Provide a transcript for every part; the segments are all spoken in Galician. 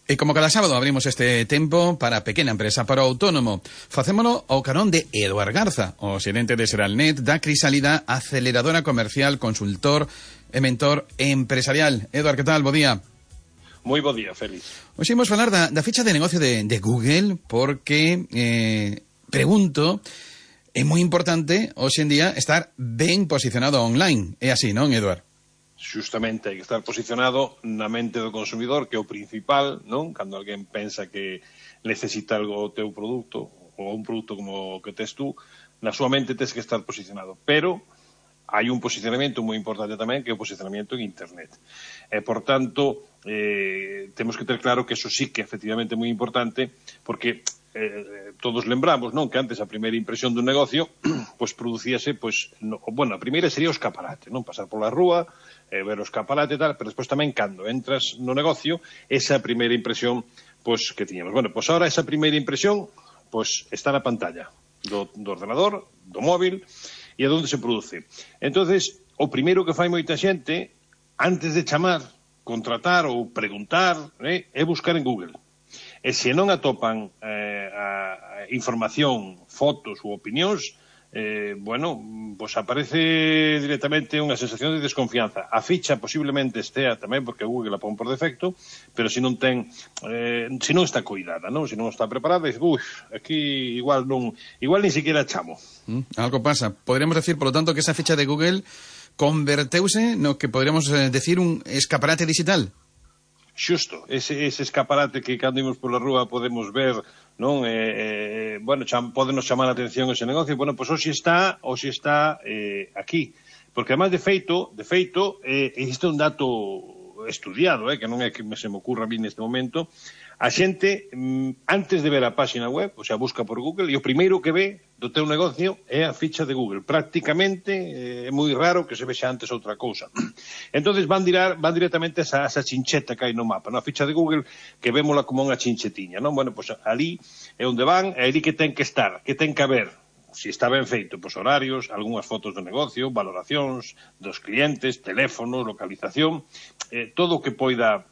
E como cada sábado abrimos este tempo para pequena empresa, para o autónomo. Facémolo ao carón de Eduard Garza, o xerente de Seralnet, da Crisalida, aceleradora comercial, consultor e mentor empresarial. Eduard, que tal? Bo día. Moi bo día, Félix. Hoxe imos falar da ficha de negocio de Google, porque, pregunto, é moi importante, hoxe en día, estar ben posicionado online. É así, non, Eduard? Xustamente hai que estar posicionado na mente do consumidor, que é o principal, non? Cando alguén pensa que necesita algo o teu produto, ou un produto como o que tes tú, na súa mente tes que estar posicionado. Pero hai un posicionamento moi importante tamén, que é o posicionamento en Internet. E, por tanto, temos que ter claro que eso sí que efectivamente é moi importante, porque todos lembramos, non, que antes a primeira impresión dun negocio pois producíase, pois, a primeira sería o escaparate, non, pasar pola rúa, ver o escaparate e tal, pero despois tamén cando entras no negocio, esa primeira impresión pois que tiñamos. Bueno, pois ahora esa primeira impresión pois está na pantalla do ordenador, do móvil, e é onde se produce. Entonces, o primeiro que fai moita xente antes de chamar, contratar ou preguntar é buscar en Google. E se non atopan a información, fotos ou opinións, pois aparece directamente unha sensación de desconfianza. A ficha posiblemente estea tamén, porque Google la pon por defecto, pero se non ten, se non está cuidada, non? Se non está preparada, aquí igual nin siquiera chamo. Algo pasa. Podríamos decir, por lo tanto, que esa ficha de Google converteuse no que podríamos decir un escaparate digital. Xusto, ese escaparate que cando imos pola rúa podemos ver, non? Podenos chamar a atención ese negocio. Bueno, pois hoxe está aquí. Porque además de feito, existe un dato estudiado, que non é que se me ocurra a mí neste momento. A xente, antes de ver a páxina web, o sea, busca por Google, e o primeiro que ve do teu negocio é a ficha de Google. Prácticamente é moi raro que se vexa antes outra cousa. Entonces van directamente a esa chincheta que hai no mapa, a ficha de Google, que vémola como unha chinchetiña, non? Bueno, pois ali é onde van, é ali que ten que estar, que ten que haber. Se está ben feito, pois horarios, algunhas fotos do negocio, valoracións dos clientes, teléfonos, localización, todo o que poida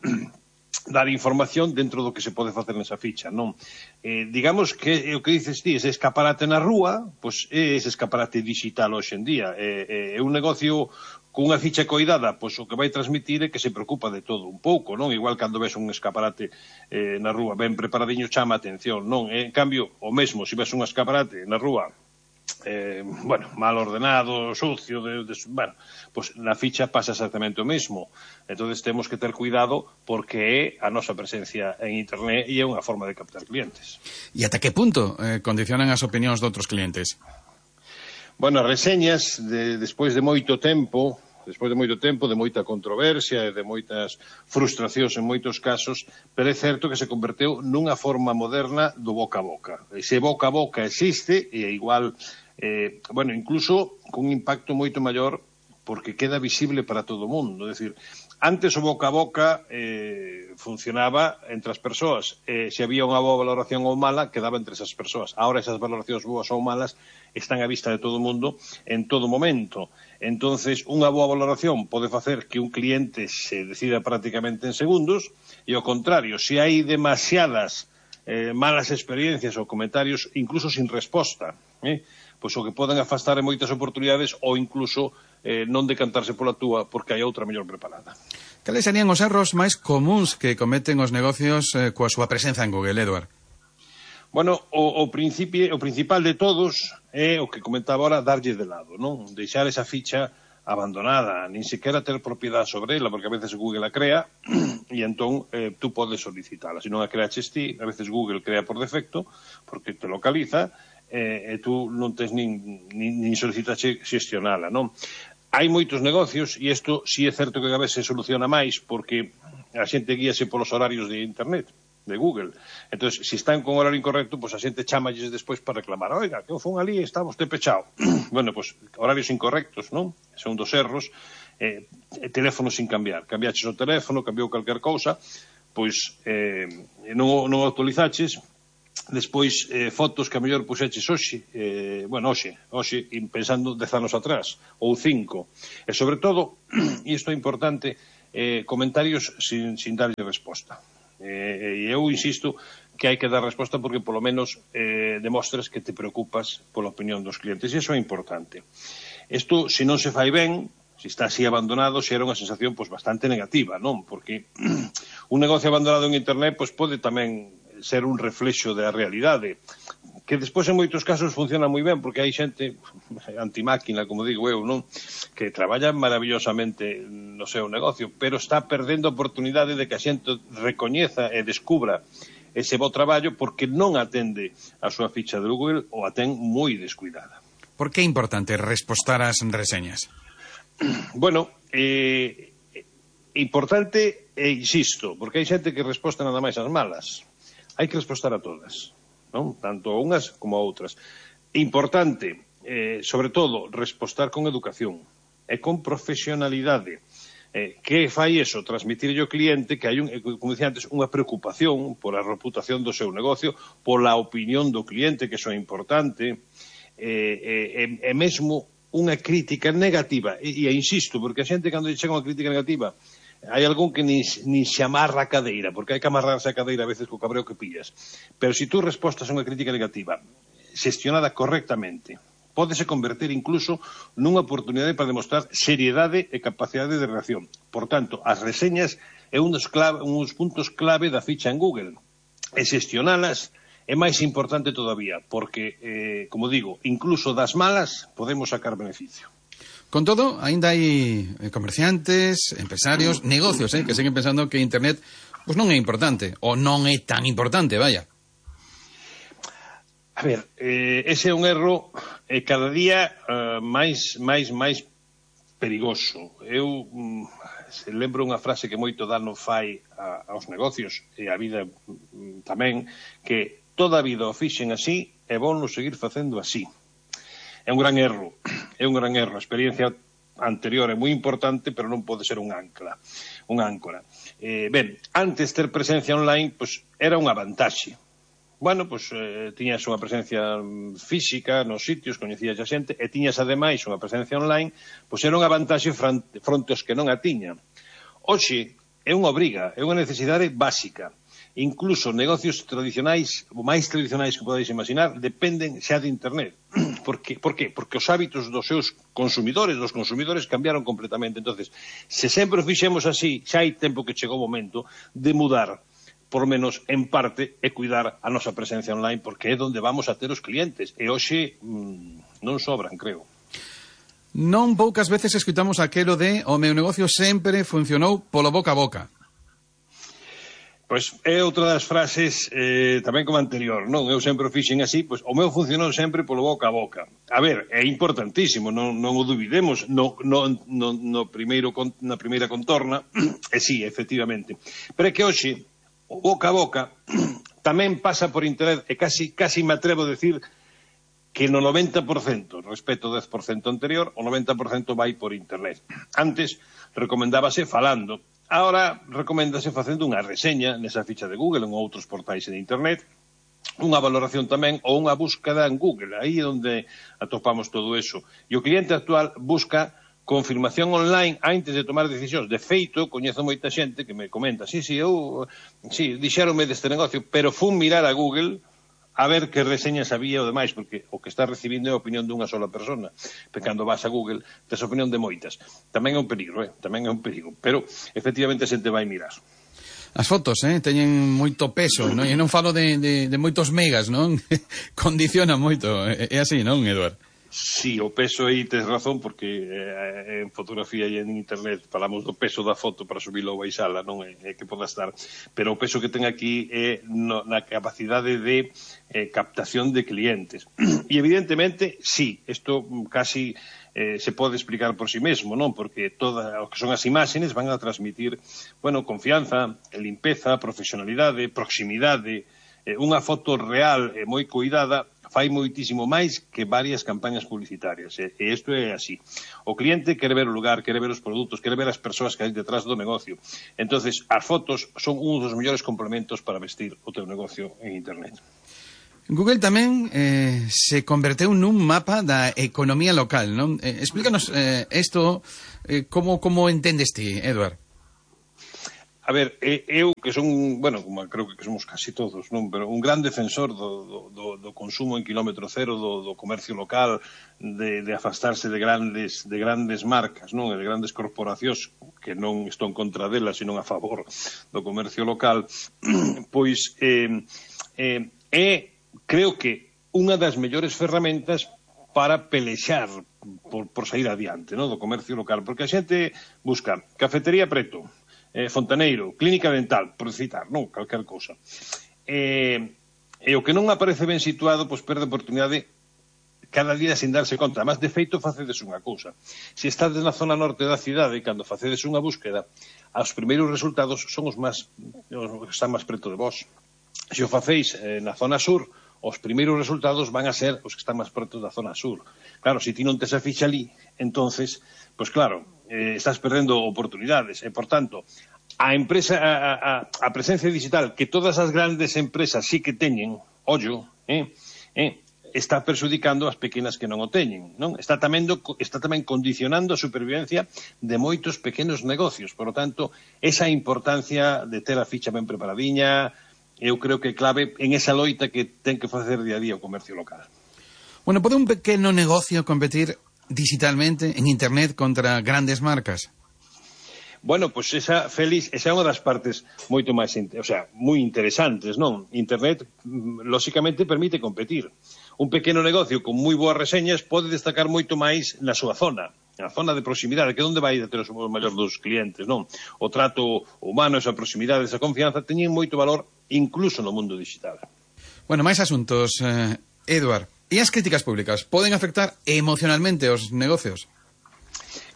dar información dentro do que se pode facer nesa ficha, non? Digamos que o que dices ti, ese escaparate na rúa, pois é ese escaparate digital hoxe en día. É un negocio cunha ficha coidada, pois o que vai transmitir é que se preocupa de todo un pouco, non? Igual cando ves un escaparate na rúa ben preparadiño chama a atención, non? En cambio, o mesmo, se ves un escaparate na rúa mal ordenado, sucio, pois na ficha pasa exactamente o mesmo. Entonces temos que ter cuidado porque é a nosa presencia en Internet e é unha forma de captar clientes. E ata que punto condicionan as opinións de outros clientes? Bueno, as reseñas, despois de moito tempo, de moita controversia e de moitas frustracións en moitos casos, pero é certo que se converteu nunha forma moderna do boca a boca. Ese boca a boca existe e é igual, incluso con un impacto moito maior porque queda visible para todo o mundo. É dicir, antes o boca a boca funcionaba entre as persoas. Se había unha boa valoración ou mala, quedaba entre esas persoas. Ahora esas valoracións boas ou malas están á vista de todo o mundo en todo momento. Entonces, unha boa valoración pode facer que un cliente se decida prácticamente en segundos, e ao contrario, se hai demasiadas malas experiencias ou comentarios, incluso sin resposta, pois o que poden afastar en moitas oportunidades ou incluso non decantarse pola túa porque hai outra mellor preparada. Cales serían os erros máis comuns que cometen os negocios coa súa presenza en Google, Eduard? Bueno, o principal de todos é o que comentaba ahora, darlle de lado, non? Deixar esa ficha abandonada, nin sequera ter propiedade sobre ela, porque a veces Google a crea e entón tú podes solicitala. Se non a creaches ti, a veces Google crea por defecto porque te localiza e tú non tens nin solicitaxe xestionala, non? Hai moitos negocios, e isto sí é certo que a veces se soluciona máis porque a xente guíase polos horarios de Internet, de Google. Entón, se están con horario incorrecto, pois a xente chamalles despois para reclamar. Oiga, que fun ali e está vostede pechado. Bueno, pois horarios incorrectos, non? Son dos erros. Teléfono sin cambiar. Cambiaches o teléfono, cambiou calquer cousa, pois non o actualizaches. Despois, fotos que a mellor puxeches hoxe, pensando 10 anos atrás, ou 5. E, sobre todo, e isto é importante, comentarios sin darlle resposta. E eu insisto que hai que dar resposta porque polo menos demostras que te preocupas pola opinión dos clientes, e iso é importante. Isto, se non se fai ben, se está así abandonado, xera unha sensación bastante negativa, non? Porque un negocio abandonado en internet pode tamén ser un reflexo da realidade, que despois en moitos casos funciona moi ben, porque hai xente antimáquina, como digo eu, non? Que traballa maravillosamente no seu negocio, pero está perdendo a oportunidade de que a xente recoñeza e descubra ese bo traballo porque non atende a súa ficha de Google ou a ten moi descuidada. Por que é importante respostar ás reseñas? Bueno, importante, insisto, porque hai xente que resposta nada máis ás malas. Hai que respostar a todas, non? Tanto a unhas como a outras. Importante, sobre todo, respostar con educación e con profesionalidade. Que fai iso? Transmitirlle ao cliente que hai, como dicía antes, unha preocupación pola reputación do seu negocio, pola opinión do cliente, que iso é importante, e mesmo unha crítica negativa. E insisto, porque a xente cando chega unha crítica negativa, hai algún que nin se amarra a cadeira, porque hai que amarrarse a cadeira a veces co cabreo que pillas. Pero se tú respostas a unha crítica negativa, xestionada correctamente, pódese converter incluso nunha oportunidade para demostrar seriedade e capacidade de reacción. Por tanto, as reseñas é un dos puntos clave da ficha en Google. E xestionalas é máis importante todavía, porque, como digo, incluso das malas podemos sacar beneficio. Con todo, aínda hai comerciantes, empresarios, negocios, que seguen pensando que Internet non é importante, ou non é tan importante, vaya. A ver, ese é un erro cada día máis perigoso. Eu lembro unha frase que moito dano fai aos negocios e a vida tamén, que toda a vida o fixen así e vou non seguir facendo así. É un gran erro, A experiencia anterior é moi importante, pero non pode ser un áncora. Ben, antes ter presencia online, era unha vantaxe. Bueno, tiñas unha presencia física nos sitios, coñecías a xente, e tiñas ademais unha presencia online, era unha vantaxe fronte aos que non a tiñan. Hoxe é unha obriga, é unha necesidade básica. Incluso negocios tradicionais, o máis tradicionais que podeis imaginar, dependen xa de Internet. Por qué? Porque os hábitos dos seus consumidores, cambiaron completamente. Entonces, se sempre o fixemos así, xa hai tempo que chegou o momento de mudar, por menos en parte, e cuidar a nosa presencia online, porque é onde vamos a ter os clientes. E hoxe non sobran, creo. Non poucas veces escutamos aquelo de o meu negocio sempre funcionou polo boca a boca. Pois é outra das frases tamén como anterior, non? Eu sempre o fixen así, o meu funcionou sempre polo boca a boca. A ver, é importantísimo, non o duvidemos na primeira contorna, e sí, efectivamente. Pero é que hoxe o boca a boca tamén pasa por Internet, e casi me atrevo a decir que no 90% respecto ao 10% anterior, o 90% vai por Internet. Antes recomendábase falando, agora recoméndase facendo unha reseña nesa ficha de Google ou en outros portais de Internet, unha valoración tamén ou unha búsqueda en Google, aí é onde atopamos todo eso. E o cliente actual busca confirmación online antes de tomar decisións. De feito, coñezo moita xente que me comenta, dixéronme deste negocio, pero fun mirar a Google a ver que reseñas había o demais, porque o que está recibindo é a opinión dunha sola persona. Pero cando vas a Google, tes a opinión de moitas. Tamén é un perigo, pero efectivamente a xente vai mirar. As fotos, teñen moito peso, non? E non falo de moitos megas, non? Condiciona moito, é así, non, Eduard? Sí, o peso aí tes razón, porque en fotografía e en internet falamos do peso da foto para subilo ou baixala, non é que poda estar, pero o peso que ten aquí é na capacidade de captación de clientes. E evidentemente, sí, isto casi se pode explicar por si mesmo, non? Porque o que son as imaxes van a transmitir, confianza, limpeza, profesionalidade, proximidade. Unha foto real e moi cuidada fai moitísimo máis que varias campañas publicitarias, e isto é así. O cliente quere ver o lugar, quere ver os produtos, quere ver as persoas que hai detrás do negocio. Entonces, as fotos son un dos mellores complementos para vestir o teu negocio en Internet. Google tamén se converteu nun mapa da economía local, non? Explícanos isto, como entendes ti, Eduard? A A ver, eu que son, bueno, como creo que somos casi todos, non? Pero un gran defensor do consumo en kilómetro cero, do comercio local, de afastarse de grandes marcas, non? De grandes corporacións, que non estou en contra delas, sino a favor do comercio local, pois creo que unha das mellores ferramentas para pelexar por sair adiante, non? Do comercio local, porque a xente busca cafetería preto, fontaneiro, clínica dental, por citar, non? Calquer cousa. E o que non aparece ben situado, pois perde a oportunidade cada día sin darse conta. Mas, de feito, facedes unha cousa. Se estades na zona norte da cidade, cando facedes unha búsqueda, os primeiros resultados son os que están máis preto de vós. Se o facéis na zona sur, os primeiros resultados van a ser os que están máis preto da zona sur. Claro, se ti non tes a ficha ali, entonces, pois claro, estás perdendo oportunidades. E, por tanto, a presencia digital que todas as grandes empresas sí que teñen, ollo, está perxudicando as pequenas que non o teñen, non? Está tamén condicionando a supervivencia de moitos pequenos negocios. Por lo tanto, esa importancia de ter a ficha ben preparadiña, eu creo que é clave en esa loita que ten que facer día a día o comercio local. Bueno, pode un pequeno negocio competir digitalmente en internet contra grandes marcas? Bueno, pois esa é unha das partes moito máis, moi interesantes, non? Internet, lóxicamente, permite competir. Un pequeno negocio con moi boas reseñas pode destacar moito máis na súa zona, na zona de proximidade, que é onde vai a ter os maiores dos clientes, non? O trato humano, esa proximidade, esa confianza, teñen moito valor incluso no mundo digital. Bueno, máis asuntos, Eduard. E as críticas públicas poden afectar emocionalmente os negocios?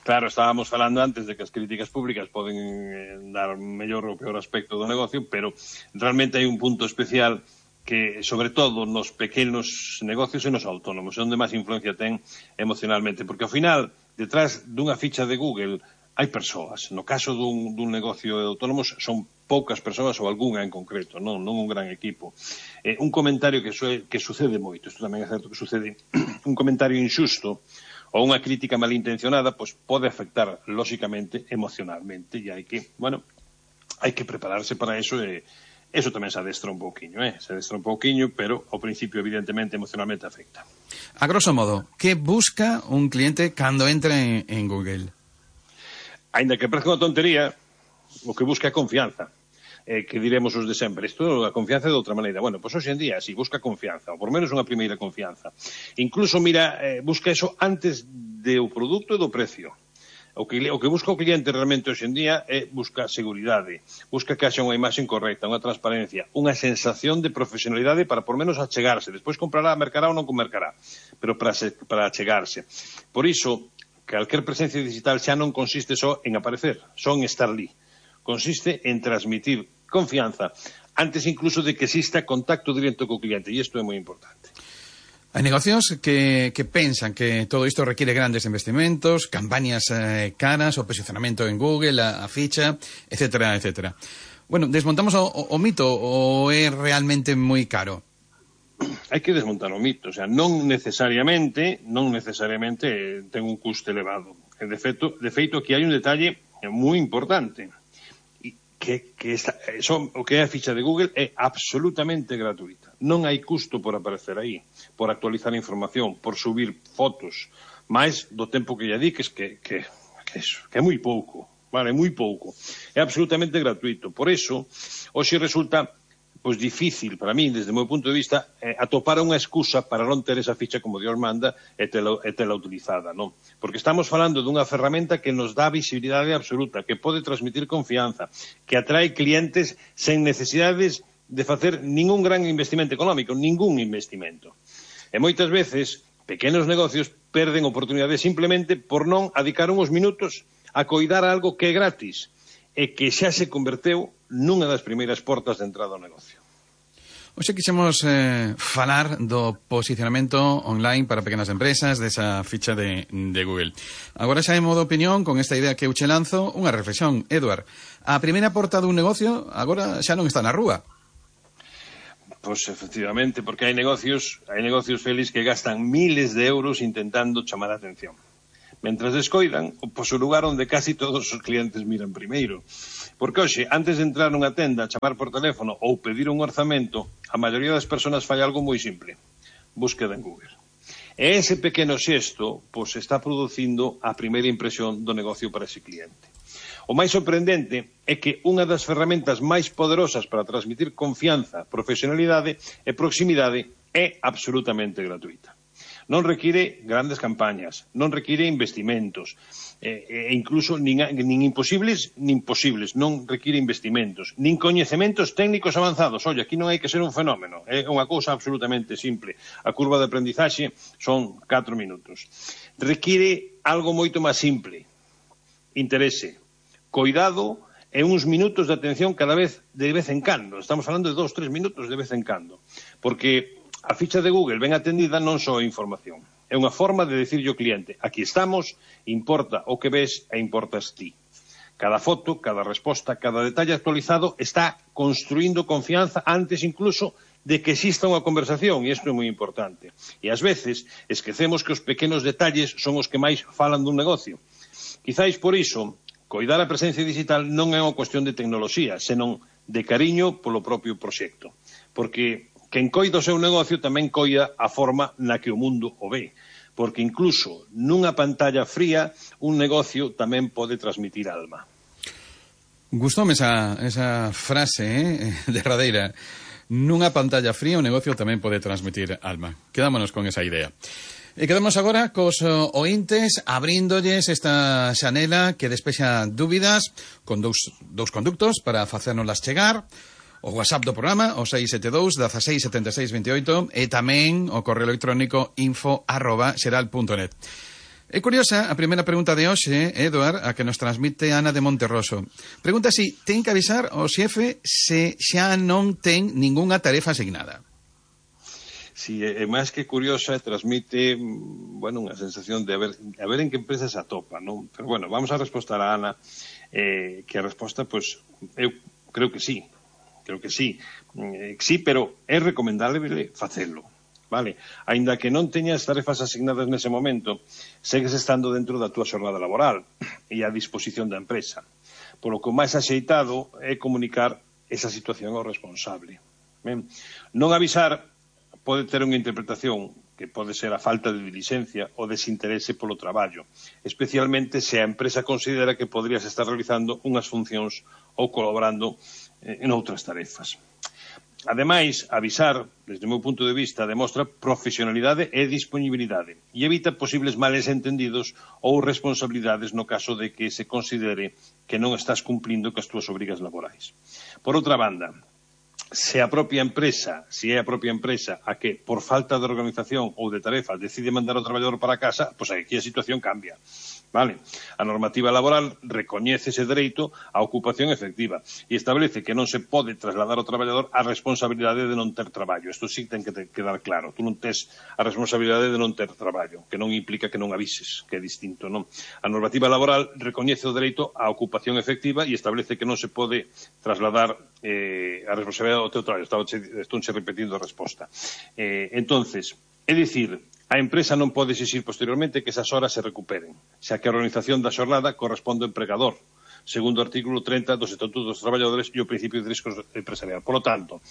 Claro, estábamos falando antes de que as críticas públicas poden dar mellor ou peor aspecto do negocio, pero realmente hai un punto especial que, sobre todo, nos pequenos negocios e nos autónomos, onde máis influencia ten emocionalmente, porque ao final, detrás dunha ficha de Google, hai persoas. No caso dun negocio de autónomos son poucas persoas ou algunha en concreto, non un gran equipo. Un comentario que sucede moito, isto tamén é certo que sucede, un comentario inxusto ou unha crítica malintencionada, pois pode afectar, lóxicamente, emocionalmente, e hai que prepararse para eso, e eso tamén se adestra un pouquiño, pero ao principio, evidentemente, emocionalmente afecta. A grosso modo, que busca un cliente cando entra en Google? Ainda que parezca unha tontería, o que busca é confianza. Que diremos os de sempre. Isto, a confianza de outra maneira. Bueno, pois hoxe en día, si busca confianza, ou por menos unha primeira confianza. Incluso, busca eso antes do produto e do precio. O que busca o cliente realmente hoxe en día é busca seguridade, busca que haxa unha imaxe correcta, unha transparencia, unha sensación de profesionalidade para por menos achegarse. Despois comprará, mercará ou non mercará, pero para achegarse. Por iso, calquer presencia digital xa non consiste só en aparecer, só en estar ali. Consiste en transmitir confianza antes incluso de que exista contacto directo co cliente, e isto é moi importante. Hai negocios que pensan que todo isto requiere grandes investimentos, campañas caras, o posicionamento en Google, a ficha, etcétera, etcétera. Bueno, desmontamos o mito, ou é realmente moi caro? Hai que desmontar o mito, o sea, non necesariamente ten un custo elevado. De feito, aquí hai un detalle moi importante, o que é a ficha de Google é absolutamente gratuita. Non hai custo por aparecer aí, por actualizar a información, por subir fotos, máis do tempo que lle diques que é moi pouco, vale, moi pouco. É absolutamente gratuito. Por iso, hoxe resulta pois difícil para min, desde o meu punto de vista, atopar unha excusa para non ter esa ficha como Dios manda e tela utilizada, non? Porque estamos falando dunha ferramenta que nos dá visibilidade absoluta, que pode transmitir confianza, que atrae clientes sen necesidades de facer ningún gran investimento económico, ningún investimento. E moitas veces, pequenos negocios perden oportunidades simplemente por non adicar uns minutos a coidar algo que é gratis e que xa se converteu nunha das primeiras portas de entrada ao negocio. Hoxe quixemos falar do posicionamento online para pequenas empresas, desa ficha de Google. Agora xa en modo opinión, con esta idea que eu che lanzo, unha reflexión. Eduard, a primeira porta dun negocio agora xa non está na rúa. Pois efectivamente, porque hai negocios, Félix, que gastan miles de euros intentando chamar a atención. mentras descoidan, pois o lugar onde casi todos os clientes miran primeiro. Porque hoxe, antes de entrar nunha tenda, chamar por teléfono ou pedir un orzamento, a maioría das persoas fai algo moi simple: búsqueda en Google. E ese pequeno xesto pois está producindo a primeira impresión do negocio para ese cliente. O máis sorprendente é que unha das ferramentas máis poderosas para transmitir confianza, profesionalidade e proximidade é absolutamente gratuita. Non require grandes campañas, non require investimentos, e incluso nin imposibles nin posibles, non require investimentos, nin coñecementos técnicos avanzados. Oye, aquí non hai que ser un fenómeno, é unha cousa absolutamente simple. A curva de aprendizaxe son 4 minutos. Require algo moito máis simple: interese, coidado e uns minutos de atención cada vez de vez en cando. Estamos falando de 2-3 minutos de vez en cando. Porque a ficha de Google ben atendida non só é información. É unha forma de dicirlle ao cliente: aquí estamos, importa o que ves e importas ti. Cada foto, cada resposta, cada detalle actualizado está construindo confianza antes incluso de que exista unha conversación, e isto é moi importante. E ás veces esquecemos que os pequenos detalles son os que máis falan dun negocio. Quizáis por iso, coidar a presencia digital non é unha cuestión de tecnoloxía, senón de cariño polo propio proxecto. Porque quen coida o seu negocio tamén coida a forma na que o mundo o ve. Porque incluso nunha pantalla fría un negocio tamén pode transmitir alma. Gustoume esa frase derradeira. Nunha pantalla fría un negocio tamén pode transmitir alma. Quedámonos con esa idea. E quedamos agora cos ointes abrindolles esta xanela que despexa dúbidas con dous conductos para facérnoslas chegar: o WhatsApp do programa, o 672 16 76 28, e tamén o correo electrónico info@xeral.net. É curiosa a primeira pregunta de hoxe, Eduard, a que nos transmite Ana de Monterroso. Pregunta si ten que avisar o xefe se xa non ten ningunha tarefa asignada. Si, é máis que curiosa, transmite, unha sensación de a ver en que empresa se atopa, non? Pero, vamos a respostar a Ana, que a resposta, pois, eu creo que sí. Creo que sí. Sí, pero é recomendable facelo, vale? Aínda que non teñas tarefas asignadas nese momento, segues estando dentro da túa xornada laboral e a disposición da empresa. Polo que o máis axeitado é comunicar esa situación ao responsable. Ben, non avisar pode ter unha interpretación que pode ser a falta de dilixencia ou desinterese polo traballo, especialmente se a empresa considera que podrías estar realizando unhas funcións ou colaborando en outras tarefas. Ademais, avisar, desde o meu punto de vista, demostra profesionalidade e disponibilidade e evita posibles males entendidos ou responsabilidades no caso de que se considere que non estás cumplindo cas túas obrigas laborais. Por outra banda, se é a propia empresa a que, por falta de organización ou de tarefa, decide mandar o traballador para casa, pois aquí a situación cambia. Vale. A normativa laboral recoñece ese dereito á ocupación efectiva e establece que non se pode trasladar ao traballador a responsabilidade de non ter traballo. Isto sí ten que quedar claro. Tú non tes a responsabilidade de non ter traballo, que non implica que non avises, que é distinto, non? A normativa laboral recoñece o dereito á ocupación efectiva e establece que non se pode trasladar a responsabilidade ao teu traballo. Estou repetindo a resposta. Entonces, é dicir, a empresa non pode exixir posteriormente que esas horas se recuperen, xa que a organización da xornada corresponde ao empregador, segundo o artículo 30 dos Estatutos dos Traballadores e o principio de risco empresarial. Por lo tanto,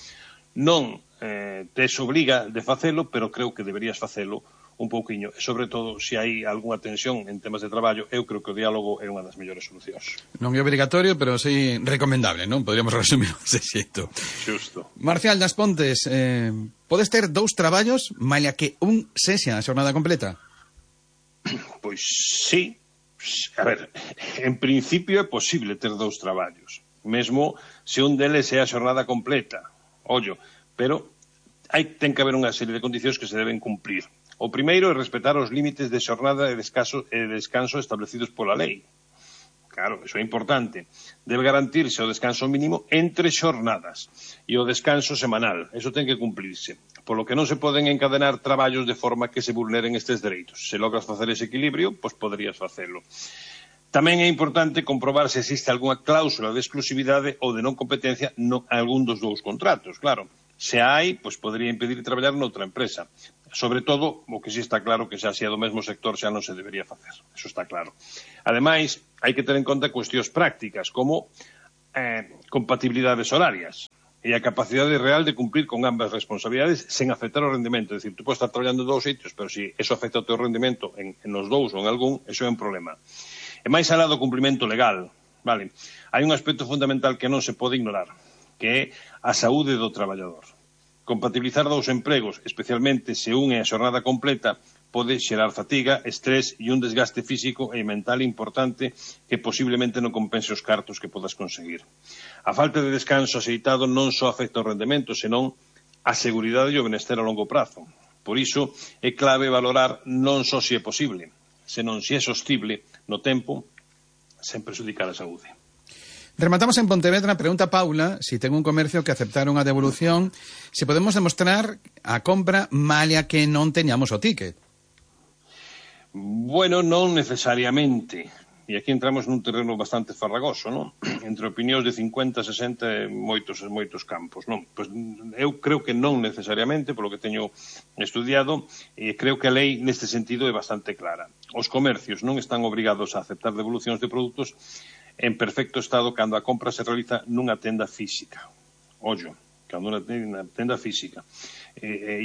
non te obriga de facelo, pero creo que deberías facelo un pouquiño, e sobre todo, se hai algunha tensión en temas de traballo, eu creo que o diálogo é unha das mellores solucións. Non é obrigatorio, pero sí recomendable, non? Podríamos resumir ese xeito. Xusto. Marcial das Pontes, podes ter 2 traballos, malia que un sexa a xornada completa? Pois sí. A ver, en principio é posible ter 2 traballos, mesmo se un deles é a xornada completa. Ollo, pero ten que haber unha serie de condicións que se deben cumprir. O primeiro é respetar os límites de xornada e descanso establecidos pola lei. Claro, iso é importante. Debe garantirse o descanso mínimo entre xornadas e o descanso semanal. Iso ten que cumplirse. Polo que non se poden encadenar traballos de forma que se vulneren estes dereitos. Se logras facer ese equilibrio, pois poderías facelo. Tamén é importante comprobar se existe algunha cláusula de exclusividade ou de non competencia en algún dos 2 contratos, claro. Se hai, pois podería impedir traballar noutra empresa. Sobre todo, o que si está claro que xa se é do mesmo sector xa non se debería facer. Eso está claro. Ademais, hai que ter en conta cuestións prácticas, como compatibilidades horarias e a capacidade real de cumprir con ambas responsabilidades sen afectar o rendemento. É dicir, tú podes estar traballando en dous sitios, pero se eso afecta o teu rendemento en os dous ou en algún, eso é un problema. E máis alá do cumprimento legal, vale? Hai un aspecto fundamental que non se pode ignorar, que é a saúde do traballador. Compatibilizar dous empregos, especialmente se un é a xornada completa, pode xerar fatiga, estrés e un desgaste físico e mental importante que posiblemente non compense os cartos que podas conseguir. A falta de descanso axeitado non só afecta o rendemento, senón a seguridade e o benestar a longo prazo. Por iso é clave valorar non só se é posible, senón se é sostible no tempo sen prexudicar a saúde. Rematamos en Pontevedra, pregunta Paula si ten un comercio que aceptaron a devolución, se podemos demostrar a compra malia que non teñamos o ticket. Bueno, non necesariamente. E aquí entramos nun terreno bastante farragoso, non? Entre opinións de 50, 60 e moitos campos, non? Pois eu creo que non necesariamente, polo que teño estudiado, e creo que a lei neste sentido é bastante clara. Os comercios non están obrigados a aceptar devolucións de produtos en perfecto estado cando a compra se realiza nunha tenda física. Ollo, cando unha tenda física. E